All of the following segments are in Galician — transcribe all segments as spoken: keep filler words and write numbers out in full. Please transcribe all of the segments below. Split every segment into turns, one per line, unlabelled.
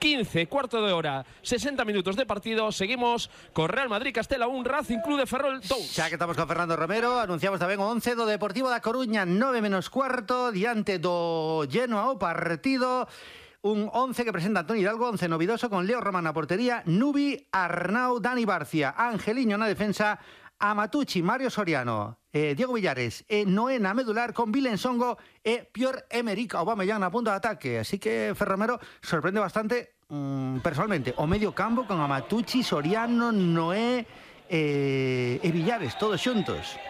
quince, cuarto de hora, sesenta minutos de partido. Seguimos con Real Madrid Castela un, Racing Club de Ferrol dos.
Xa que estamos con Fernando Romero, anunciamos tamén o once do Deportivo da Coruña, nove menos cuarto, diante do Genoa o partido. Un once que presenta Antoni Hidalgo, once novidoso, con Leo Román na portería, Nubi, Arnau, Dani Barcia, Angeliño na defensa, Amatucci, Mario Soriano, eh, Diego Villares, e eh, Noé na medular, con Vilen Songo e Pierre-Emerick Aubameyang na punta de ataque. Así que Ferromero sorprende bastante mmm, personalmente o medio campo con Amatucci, Soriano, Noé eh, e Villares, todos xuntos.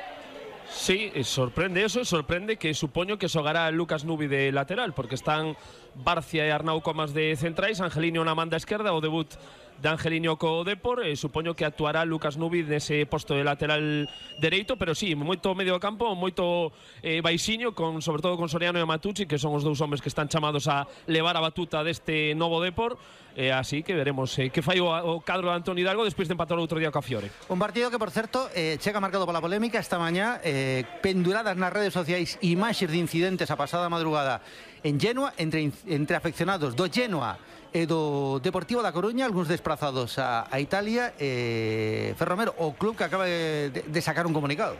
Sí, sorprende eso, sorprende que supoño que xogará Lucas Nubi de lateral, porque están Barcia e Arnau Comas de centrais, Angelino na manda esquerda, o debut de Angelino co Depor, e supoño que actuará Lucas Nubi nese posto de lateral dereito, pero sí, moito medio campo, moito eh, baixiño, con, sobre todo con Soriano e Amatucci, que son os dous homes que están chamados a levar a batuta deste novo Depor, e así que veremos eh, que fai o, o cadro de Antoni Hidalgo despois de empatar outro día co Fiore.
Un partido que, por certo, eh, chega marcado pola polémica esta mañá, eh, penduradas nas redes sociais imaxes de incidentes a pasada madrugada en Genoa, entre, entre afeccionados do Genoa e do Deportivo da Coruña, algúns desplazados a, a Italia, e Ferromero, o club que acaba de, de sacar un comunicado.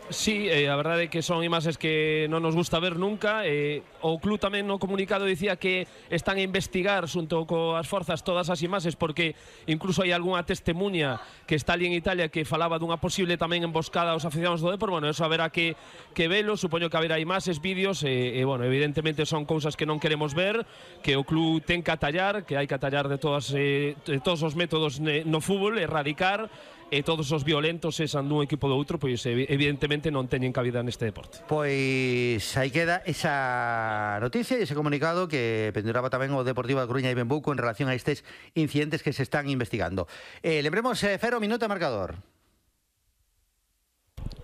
Sí, eh, a verdade é que son imaxes que non nos gusta ver nunca. eh, O club tamén no comunicado dicía que están a investigar xunto coas forzas todas as imaxes, porque incluso hai algunha testemunha que está ali en Italia que falaba dunha posible tamén emboscada aos aficionados do Depor. Bueno, eso haberá que, que velo, supoño que haberá imaxes, vídeos, e, e bueno, evidentemente son cousas que non queremos ver, que o club ten que atallar, que hai que atallar de, todas, eh, de todos os métodos no fútbol, erradicar, e todos os violentos esan dun equipo do outro, pois evidentemente non teñen cabida neste deporte.
Pois aí queda esa noticia e ese comunicado que penduraba tamén o Deportivo da Coruña e Benbuco en relación a estes incidentes que se están investigando. Eh, lembremos, eh, Fero, minuto de marcador.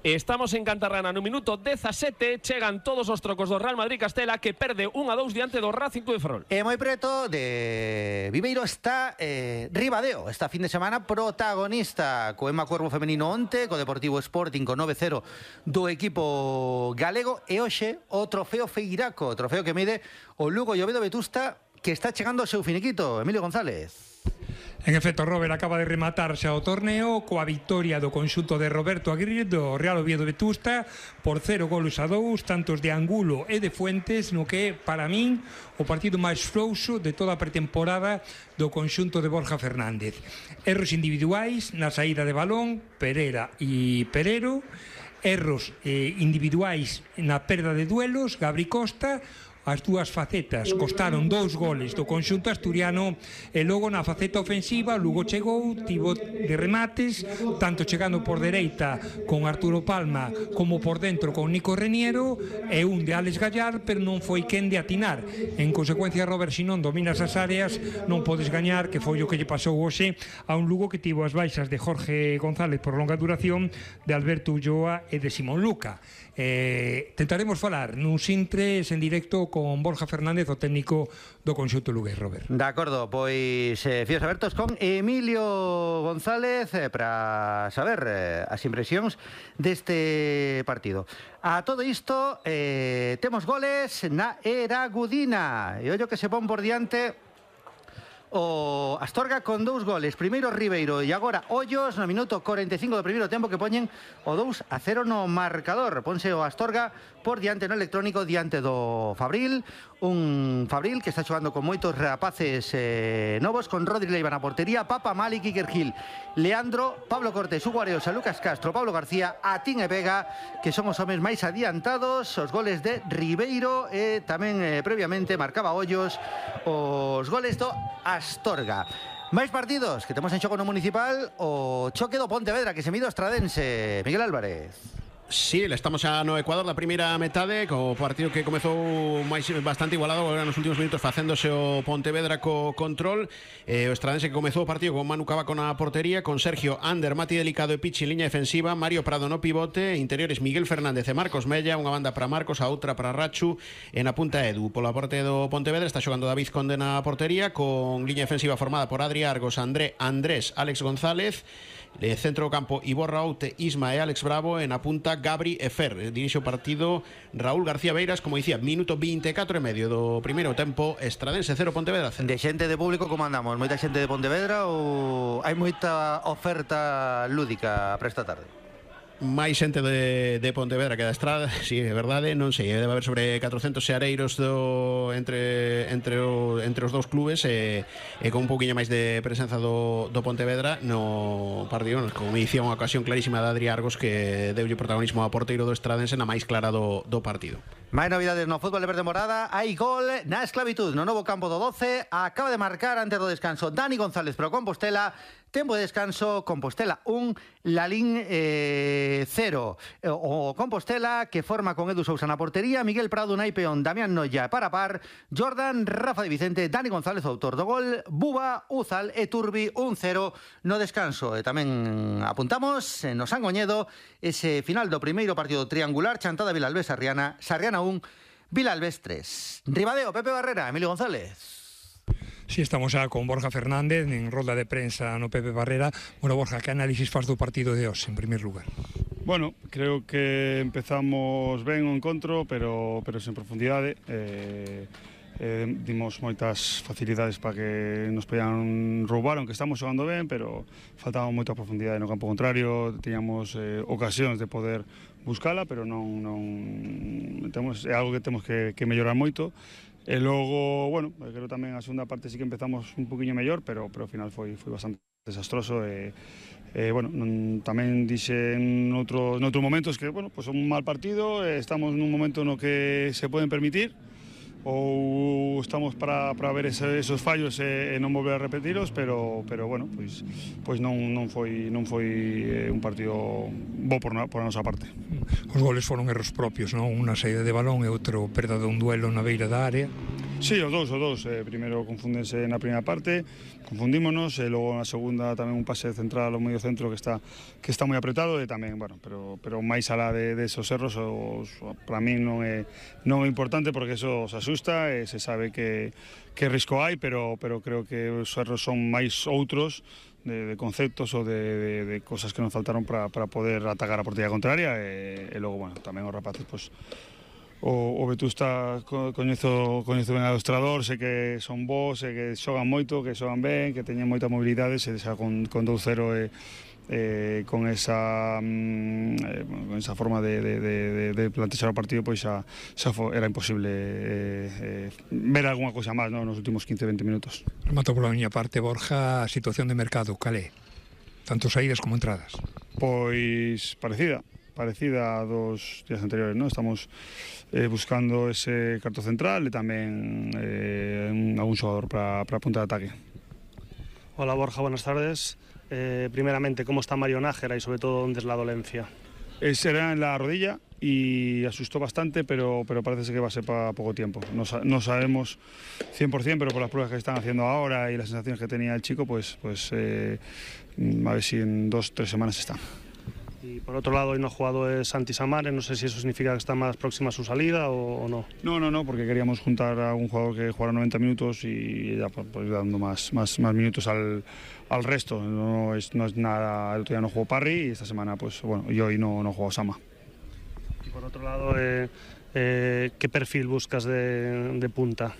Estamos en Cantarrana no minuto dezasete, chegan todos os trocos do Real Madrid Castela, que perde un a dous diante do Racing Club de Ferrol.
E moi preto de Viveiro está eh, Ribadeo, esta fin de semana protagonista co Ema Cuervo femenino onte, co Deportivo Sporting co nove cero do equipo galego, e hoxe o trofeo Feiraco, trofeo que mide o Lugo e o Oviedo Vetusta, que está chegando ao seu finiquito. Emilio González.
En efecto, Robert acaba de rematar xa o torneo coa victoria do conxunto de Roberto Aguirre do Real Oviedo Vetusta por cero golos a dous, tantos de Angulo e de Fuentes, no que para min o partido máis frouxo de toda a pretemporada do conxunto de Borja Fernández. Erros individuais na saída de balón, Pereira e Perero, erros eh, individuais na perda de duelos, Gabri Costa. As dúas facetas costaron dous goles do conxunto asturiano, e logo na faceta ofensiva Lugo chegou, tivo de remates, tanto chegando por dereita con Arturo Palma como por dentro con Nico Reniero, e un de Alex Gallar, pero non foi quen de atinar. En consecuencia, Robert, se non dominas as áreas non podes gañar, que foi o que lle pasou hoxe a un Lugo que tivo as baixas de Jorge González por longa duración, de Alberto Ulloa e de Simón Luca. Eh, tentaremos falar nuns intres en directo con Borja Fernández, o técnico do conxunto lugués, Robert.
De acordo, pois eh, fíos abertos con Emilio González eh, para saber eh, as impresións deste partido. A todo isto, eh, temos goles na Eragudina, e ollo que se pon por diante o Astorga con dous goles, primeiro Ribeiro e agora Ollos no minuto cuarenta e cinco do primeiro tempo, que poñen o dous a cero no marcador. Ponse o Astorga por diante no electrónico, diante do Fabril, un Fabril que está xogando con moitos rapaces eh, novos, con Rodri Leiva na portería, Papa, Malik, Iker Gil, Leandro, Pablo Cortés, Hugo Areosa, Lucas Castro, Pablo García, Atín e Vega, que son os homes máis adiantados. Os goles de Ribeiro e tamén eh, previamente marcaba Ollos os goles do Astorga. Máis partidos que temos en xogo no Municipal, o choque do Pontevedra que se mide o Estradense. Miguel Álvarez.
Sí, estamos xa no Ecuador da primeira metade, co partido que comezou máis bastante igualado agora nos últimos minutos, facéndose o Pontevedra co control. eh, O Estradense que comezou o partido con Manu Cavaco na portería, con Sergio Ander, Mati Delicado e Pichi en liña defensiva, Mario Prado no pivote, interiores Miguel Fernández e Marcos Mella, unha banda para Marcos, a outra para Rachu, e na punta Edu. Pola parte do Pontevedra está xogando David Conde na portería, con liña defensiva formada por Adri Argos, André Andrés, Alex González E centro do campo Iborra Oute, Isma e Alex Bravo, e na punta Gabri e Fer. Dirixe o partido Raúl García Beiras, como dicía, minuto vinte e catro e medio do primeiro tempo, Estradense cero, Pontevedra cero.
De xente de público, como andamos? Moita xente de Pontevedra ou hai moita oferta lúdica para esta tarde?
máis xente de, de Pontevedra que da Estrada, si sí, é verdade, non sei, debe haber sobre catrocentos seareiros do, entre, entre, o, entre os dous clubes e, e con un pouquiño máis de presenza do, do Pontevedra no partido, como dicía, unha ocasión clarísima de Adri Argos que deulle protagonismo ao porteiro do Estradense na máis clara do, do partido.
Máis novidades no fútbol de verde morada. Hai gol na esclavitud no novo campo do doce. Acaba de marcar antes do descanso Dani González pro Compostela. Tempo de descanso, Compostela un, Lalín eh, cero. O Compostela que forma con Edu Sousa na portería, Miguel Prado, Unai Peón, Damián Noya para par, Jordan, Rafa de Vicente, Dani González, autor do gol, Buba, Uzal e Turbi un cero no descanso. E tamén apuntamos no Sangoñedo ese final do primeiro partido triangular, Chantada Vilalbés Sarriana, Sarriana un, Vilalbés tres. Ribadeo, Pepe Barrera, Emilio González.
Sí, estamos xa con Borja Fernández en rolda de prensa no Pepe Barrera. Bueno, Borja, que análisis faz do partido de hoxe, en primer lugar?
Bueno, creo que empezamos ben o encontro, pero, pero sen profundidade. Eh, eh, dimos moitas facilidades para que nos podían roubar, aunque estamos xogando ben, pero faltaba moita profundidade no campo contrario. Teníamos eh, ocasións de poder buscala, pero non, non temos, é algo que temos que, que mellorar moito. E logo, bueno, creo tamén a segunda parte sí que empezamos un poquinho mellor, pero, pero ao final foi, foi bastante desastroso e, e bueno, non, tamén dixe en outros, en outros momentos que, bueno, pues un mal partido, estamos nun momento no que se poden permitir ou estamos para, para ver ese, esos fallos e, e non volver a repetiros, pero, pero bueno, pois, pois non, non foi, non foi un partido bo por, na, por a nosa parte.
Os goles foron erros propios, non? Unha saída de balón e outro perda dun duelo na beira da área.
Sí, os dous, os dous. Eh, primeiro confúndense na primeira parte, confundímonos, e logo na segunda tamén un pase central ao medio centro que está que está moi apretado e tamén, bueno, pero pero máis alá de, de esos erros, os, para mí non é non é importante porque eso os asusta e se sabe que que risco hai, pero pero creo que os erros son máis outros de, de conceptos ou de, de, de cosas que nos faltaron para para poder atacar a portería contraria e, e logo, bueno, tamén os rapaces, pois O, o Vetusta coñezo, coñezo ben adestrador, sei que son bons, sei que xogan moito, que xogan ben, que teñen moita mobilidade, se xa con, con dous cero e, e con esa eh, con esa forma de, de, de, de plantexar o partido, pois xa, xa foi, era imposible eh, eh, ver algunha cousa máis, no, nos últimos quince a veinte minutos.
Remato pola miña parte, Borja, a situación de mercado, calé? Tanto saídas como entradas.
Pois parecida. parecida a dos días anteriores, ¿no? Estamos eh, buscando ese carto central e tamén eh, algún xogador para a punta de ataque.
Hola Borja, buenas tardes. Eh, primeramente, ¿cómo está Mario Nájera y sobre todo dónde es la dolencia?
Eh, será en la rodilla y asustó bastante, pero, pero parece que va a ser para poco tiempo. No, no sabemos cien por cien, pero por las pruebas que están haciendo ahora y las sensaciones que tenía el chico, pues, pues eh, a ver si en dos o tres semanas está.
Y por otro lado, hoy no ha jugado es Santi Samares, no sé si eso significa que está más próxima a su salida o, o no.
No, no, no, porque queríamos juntar a un jugador que jugara noventa minutos y ya pues, pues, dando más, más, más minutos al, al resto. No es, no es nada, el otro día no jugó Parry y esta semana, pues bueno, y hoy no, no jugó Sama.
Y por otro lado, eh, eh, ¿qué perfil buscas de, de punta?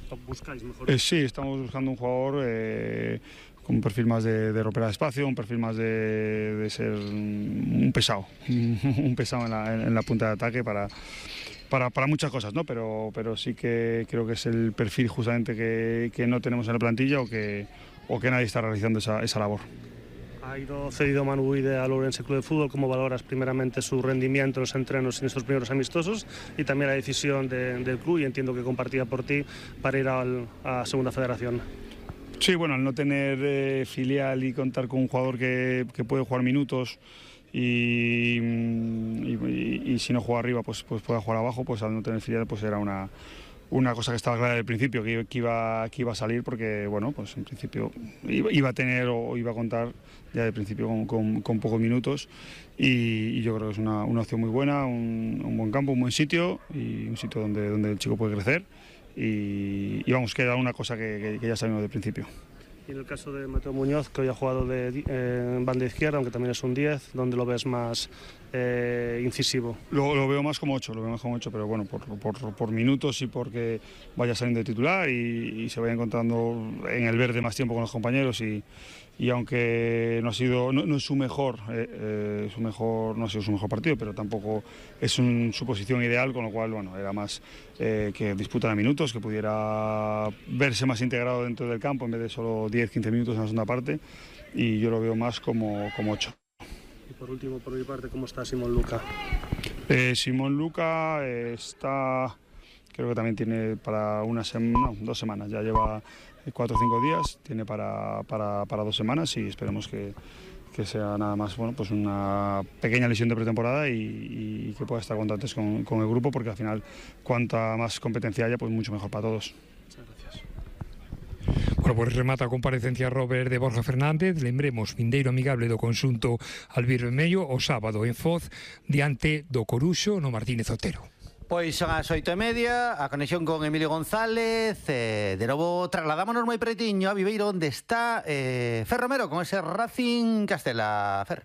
¿O buscáis mejor?
Eh, sí, estamos buscando un jugador eh, con un perfil más de, de romper el espacio, un perfil más de, de ser un pesado, un pesado en la, en la punta de ataque para, para, para muchas cosas, ¿no? Pero, pero sí que creo que es el perfil justamente que, que no tenemos en la plantilla o que, o que nadie está realizando esa, esa labor.
Ha ido cedido Manu Guide al Ourense Club de Fútbol. ¿Cómo valoras primeramente su rendimiento en los entrenos en estos primeros amistosos y también la decisión de, del club, y entiendo que compartida por ti, para ir al, a Segunda Federación?
Sí, bueno, al no tener eh, filial y contar con un jugador que, que puede jugar minutos y, y, y, y si no juega arriba pues, pues pueda jugar abajo, pues al no tener filial pues era una, una cosa que estaba clara desde el principio, que, que, iba, que iba a salir porque, bueno, pues en principio iba, iba a tener o iba a contar ya de principio con, con, con pocos minutos y, y yo creo que es una, una opción muy buena, un, un buen campo, un buen sitio y un sitio donde, donde el chico puede crecer. Y, y vamos, que era una cosa que, que, que ya sabemos del principio.
Y en el caso de Mateo Muñoz, que hoy ha jugado de eh, banda izquierda, aunque también es un diez, ¿dónde lo ves más eh, incisivo?
Lo, lo veo más como ocho, lo veo más como ocho, pero bueno, por, por, por minutos y porque vaya saliendo de titular y, y se vaya encontrando en el verde más tiempo con los compañeros y, y aunque no ha sido, no, no es su mejor, eh, eh, su mejor, no ha sido su mejor partido, pero tampoco es un, su posición ideal, con lo cual bueno, era más eh, que disputara minutos, que pudiera verse más integrado dentro del campo en vez de solo diez quince minutos en la segunda parte, y yo lo veo más como, como ocho.
Y por último, por mi parte, ¿cómo está Simón Luca?
Eh, Simón Luca eh, está, creo que también tiene para una semana, no, dos semanas, ya lleva cuatro o cinco días, tiene para, para, para dos semanas y esperemos que, que sea nada más, bueno, pues una pequeña lesión de pretemporada y, y que pueda estar cuanto antes con, con el grupo, porque al final cuanta más competencia haya, pues mucho mejor para todos.
Muchas gracias.
Bueno, pues remata a comparecencia Robert de Borja Fernández. Lembremos, vindeiro amigable do conxunto albirvermello o sábado en Foz diante do Coruxo no Martínez Otero.
Pois son as oito e media, a conexión con Emilio González. eh, De novo trasladámonos moi pretiño a Viveiro, onde está eh, Fer Romero con ese Racing Castela. Fer.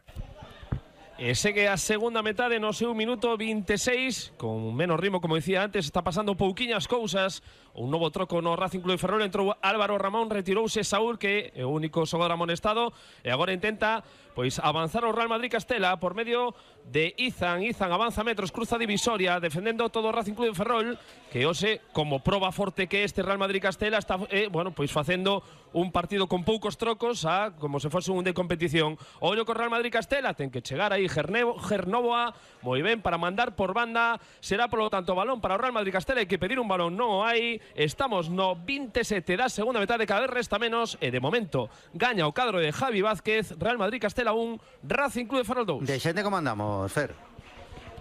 E segue a segunda metade no seu minuto veintiséis, con menos ritmo, como dicía antes, está pasando pouquiñas cousas. Un novo troco no Racing Club de Ferrol, entrou Álvaro Ramón, retirouse Saúl, que é o único xogador amonestado, e agora intenta pois avanzar o Real Madrid Castela por medio de Izan. Izan avanza metros, cruza divisoria, defendendo todo o Racing Club de Ferrol, que hoxe, como proba forte que este Real Madrid Castela, está, eh, bueno, pois facendo un partido con poucos trocos, a, como se fose un de competición. Ollo co Real Madrid Castela, ten que chegar aí Gernovoa, moi ben, para mandar por banda. Será, polo tanto, balón para o Real Madrid Castela. Hai que pedir un balón, non o hai. Estamos no veintisiete da segunda metade, cada vez resta menos, e de momento gaña o cadro de Javi Vázquez. Real Madrid Castela un, Racing Club de Ferrol dous.
De xente como andamos, Fer?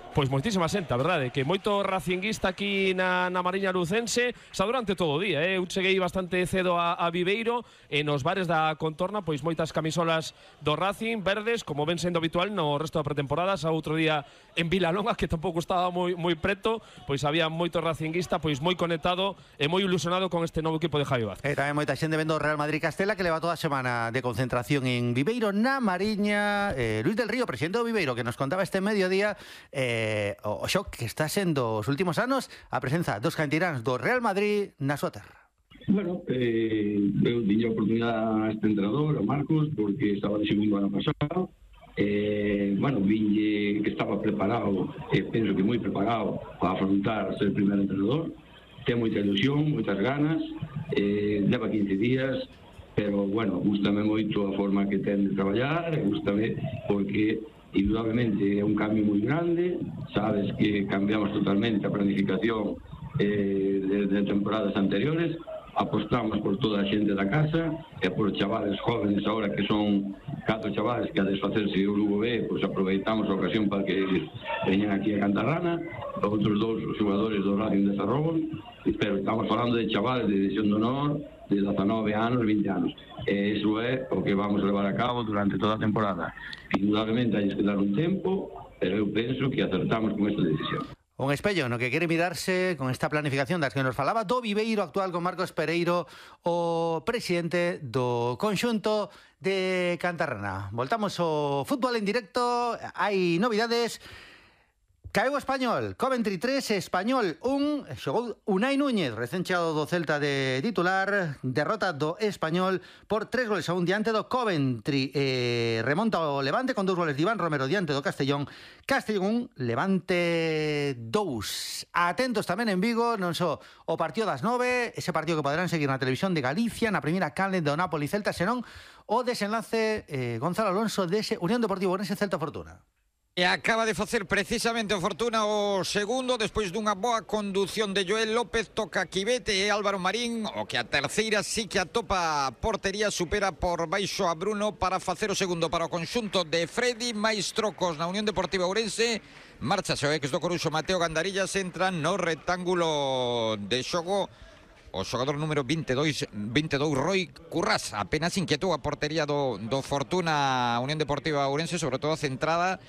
Pois moitísima xente, a verdade, que moito racinguista aquí na, na Mariña Lucense, xa durante todo o día, eh? Eu cheguei bastante cedo a, a Viveiro, e nos bares da contorna, pois moitas camisolas do Racing, verdes, como ven sendo habitual no resto da pretemporada. Xa outro día en Vilalonga, que tampouco estaba moi, moi preto, pois había moito racinguista, pois moi conectado e moi ilusionado con este novo equipo de Javi Vázquez.
E tamén moita xente vendo o Real Madrid Castela, que leva toda a semana de concentración en Viveiro, na Mariña. eh, Luis del Río, presidente do Viveiro, que nos contaba este mediodía eh, o xoc que está sendo os últimos anos a presenza dos cantiráns do Real Madrid na súa terra.
Bueno, eh, eu tiña a oportunidade a este entrenador, a Marcos, porque estaba de segundo ano pasado. Eh, bueno, vinlle que estaba preparado, e eh, penso que moi preparado para afrontar ser primeiro entrenador. Ten moita ilusión, moitas ganas, eh, leva quince días, pero, bueno, gústame moito a forma que ten de traballar, gústame porque indudablemente é un cambio moi grande. Sabes que cambiamos totalmente a planificación eh, de, de temporadas anteriores, apostamos por toda a xente da casa e por chavales jóvenes agora, que son catro chavales que a desfacerse o Lugo B, pois aproveitamos a ocasión para que veñan aquí a Cantarrana, outros dous xogadores do Racing de Ferrol, pero estamos falando de chavales de división de honor de dezanove anos, vinte anos. E iso é o que vamos a levar a cabo durante toda a temporada. Indudablemente hai que dar un tempo, pero eu penso que acertamos con esta decisión.
Un espello no que quere mirarse con esta planificación das que nos falaba do Viveiro actual, con Marcos Pereiro, o presidente do conxunto de Cantarrana. Voltamos ao fútbol en directo, hai novidades. Caeu o Español, Coventry tres, Español un, xogou Unai Núñez, recén chegado do Celta de titular, derrota do Español por tres goles a un diante do Coventry. Eh, remonta o Levante con dous goles de Iván Romero diante do Castellón. Castellón un, Levante dous. Atentos tamén en Vigo, non só o partido das nove, ese partido que poderán seguir na televisión de Galicia, na primeira canle do Napoli Celta, senón o desenlace eh, Gonzalo Alonso dese Unión Deportivo Ourense Celta Fortuna.
E acaba de facer precisamente o Fortuna o segundo, despois dunha boa condución de Joel López, toca Quivete e Álvaro Marín, o que a terceira sí que atopa a portería, supera por baixo a Bruno para facer o segundo para o conxunto de Freddy. máis trocos na Unión Deportiva Ourense, marcha o ex do Coruxo Mateo Gandarillas, entra no rectángulo de xogo o xogador número veintidós, veintidós Roy Currás. Apenas inquietou a portería do, do Fortuna Unión Deportiva Ourense, sobre todo centrada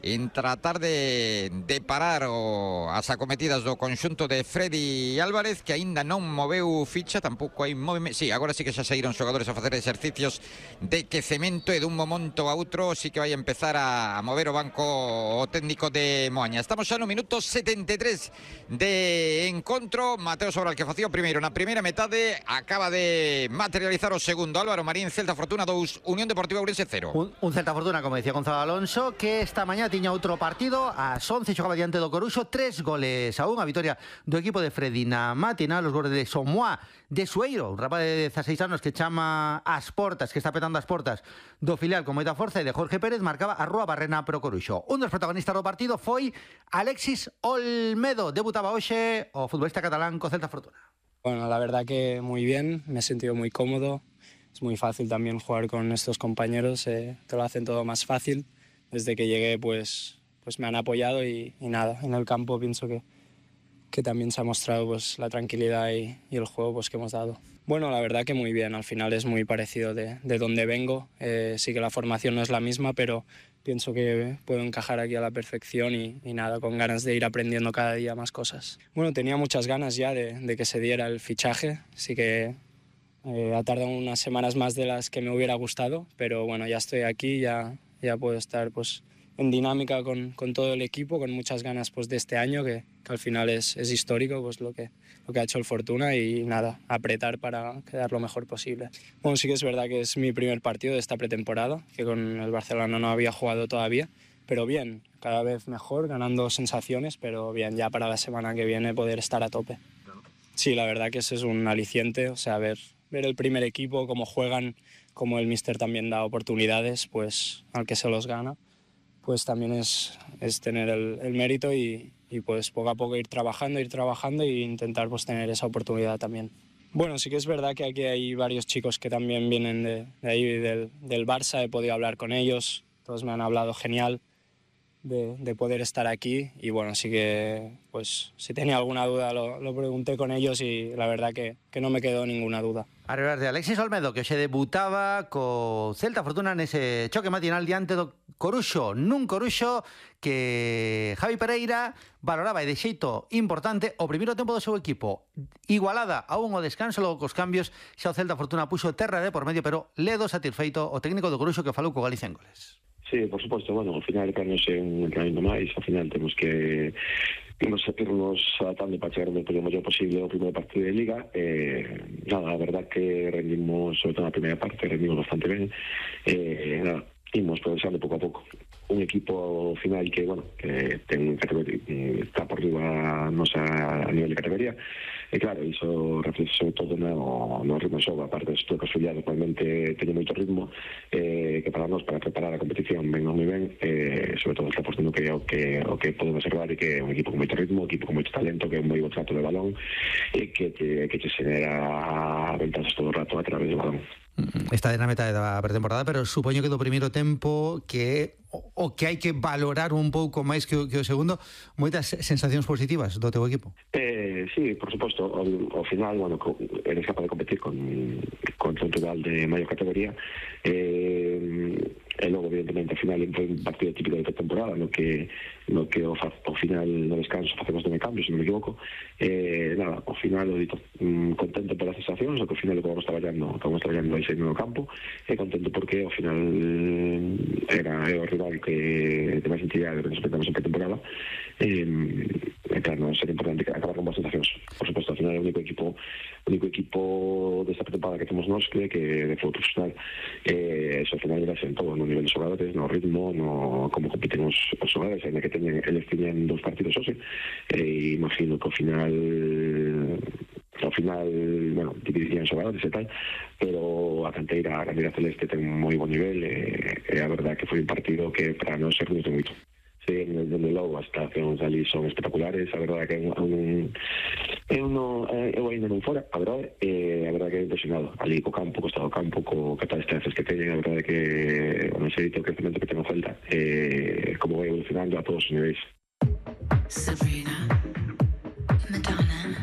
en tratar de, de parar o as acometidas do conxunto de Freddy Álvarez, que aínda non moveu ficha, tampouco hai movimento. Sí, agora sí que xa saíron xogadores a facer exercicios de quecemento e dun momento a outro sí que vai empezar a, a mover o banco o técnico de Moaña. Estamos xa no minuto setenta e tres de encontro. Mateo Sobral, que facía o primeiro na primeira metade, acaba de materializar o segundo. Álvaro Marín, Celta Fortuna dous, Unión Deportiva Ourense cero.
Un, un Celta Fortuna, como decía Gonzalo Alonso, que esta mañá tiña outro partido, ás once xogaba diante do Coruxo, tres goles a un, a vitoria do equipo de Freddy na mátina, los goles de Somoa, de Sueiro, un rapaz de dezaseis anos que chama as portas, que está petando as portas do filial con moita forza, e de Jorge Pérez marcaba a Rúa Barrena pro Coruxo. Un dos protagonistas do partido foi Alexis Olmedo, debutaba hoxe o futbolista catalán co Celta Fortuna.
Bueno, la verdad que muy bien, me he sentido muy cómodo, es muy fácil también jugar con estos compañeros, eh, te lo hacen todo más fácil. Desde que llegué pues, pues me han apoyado y, y nada, en el campo pienso que, que también se ha mostrado pues, la tranquilidad y, y el juego pues, que hemos dado. Bueno, la verdad que muy bien, al final es muy parecido de, de donde vengo, eh, sí que la formación no es la misma, pero pienso que puedo encajar aquí a la perfección y, y nada, con ganas de ir aprendiendo cada día más cosas. Bueno, tenía muchas ganas ya de, de que se diera el fichaje, sí que eh, ha tardado unas semanas más de las que me hubiera gustado, pero bueno, ya estoy aquí, ya... ya puedo estar pues, en dinámica con, con todo el equipo, con muchas ganas pues, de este año, que, que al final es, es histórico pues, lo, que, lo que ha hecho el Fortuna y nada, apretar para quedar lo mejor posible. Bueno, sí que es verdad que es mi primer partido de esta pretemporada, que con el Barcelona no había jugado todavía, pero bien, cada vez mejor, ganando sensaciones, pero bien, ya para la semana que viene poder estar a tope. Sí, la verdad que ese es un aliciente, o sea, ver, ver el primer equipo, cómo juegan, como el míster también da oportunidades, pues al que se los gana, pues también es, es tener el, el mérito y, y pues poco a poco ir trabajando, ir trabajando e intentar pues tener esa oportunidad también. Bueno, sí que es verdad que aquí hay varios chicos que también vienen de, de ahí, del, del Barça, he podido hablar con ellos, todos me han hablado genial de, de poder estar aquí y bueno, sí que pues si tenía alguna duda lo, lo pregunté con ellos y la verdad que, que no me quedó ninguna duda.
Arribar de Alexis Olmedo, que se debutaba co Celta Fortuna nese choque matinal diante do Coruxo, nun Coruxo que Javi Pereira valoraba e de xeito importante o primeiro tempo do seu equipo. Igualada a un o descanso, logo cos cambios, xa o Celta Fortuna puxo terra de por medio, pero ledo satisfeito o técnico do Coruxo que falou co Galicia en goles.
Sí, por suposto, bueno, ao final para non ser un entrenamiento máis, ao final temos que nos irnos adaptando para chegar o mellor posible ao primeiro partido de Liga. Eh, nada, a verdad que rendimos, sobre todo na primeira parte, rendimos bastante ben. Eh, nada, imos progresando pouco a pouco. Un equipo final que, bueno, que ten categoría, está por riba nosa a nivel de categoría. E claro, iso reflexe sobre todo no, no ritmo de xogo, aparte de que os filiados realmente teñen moito ritmo, eh, que para nós, para preparar a competición ben ou moi ben, eh, sobre todo está apostando que é o que, o que podemos observar e que é un equipo con moito ritmo, un equipo con moito talento, que é un moi bo trato de balón e que te, que te xenera ventajas todo o rato a través do balón.
Está de na metade da pretemporada, pero supoño que do primeiro tempo que o, o que hai que valorar un pouco máis que o, que o segundo, moitas sensacións positivas do teu equipo.
Eh, sí, por suposto, ao, ao final, bueno, eres capaz de competir con, con un rival de maior categoría, eh, e logo, evidentemente, ao final entra un partido típico de pretemporada no que, no que ao, ao final no descanso facemos de cambio, se non me equivoco. Eh, nada, ao final, o dito, mm, contento polas sensacións, o que ao final que vamos traballando, que vamos traballando aí no campo, e contento porque ao final era é o rival que de máis entidade que nos enfrentamos en pretemporada. Eh, e claro, non sería importante acabar con boas sensacións. Por suposto, ao final é o único equipo o único equipo desta pretemporada que temos nós que, que de fútbol profesional. Eh, eso ao final era en todo, no nivel de xogadores, no ritmo, no como compiten os, os xogadores, ainda que teñen, eles tiñen dos partidos hoxe, e imagino que ao final ao final, bueno, dividirían xogadores e tal, pero a canteira, a canteira celeste ten moi bon nivel e, e a verdade que foi un partido que para non ser de moito. Sí, desde logo as creacións ali son espectaculares, a verdade que é un eu non eu ainda non fora, a verdade, e a verdade que é impresionado ali co campo, co estado do campo, co catástrofes que teñen, a verdade que non sei o crecemento que ten o Celta, e como vai evolucionando a todos os niveis. Sabrina.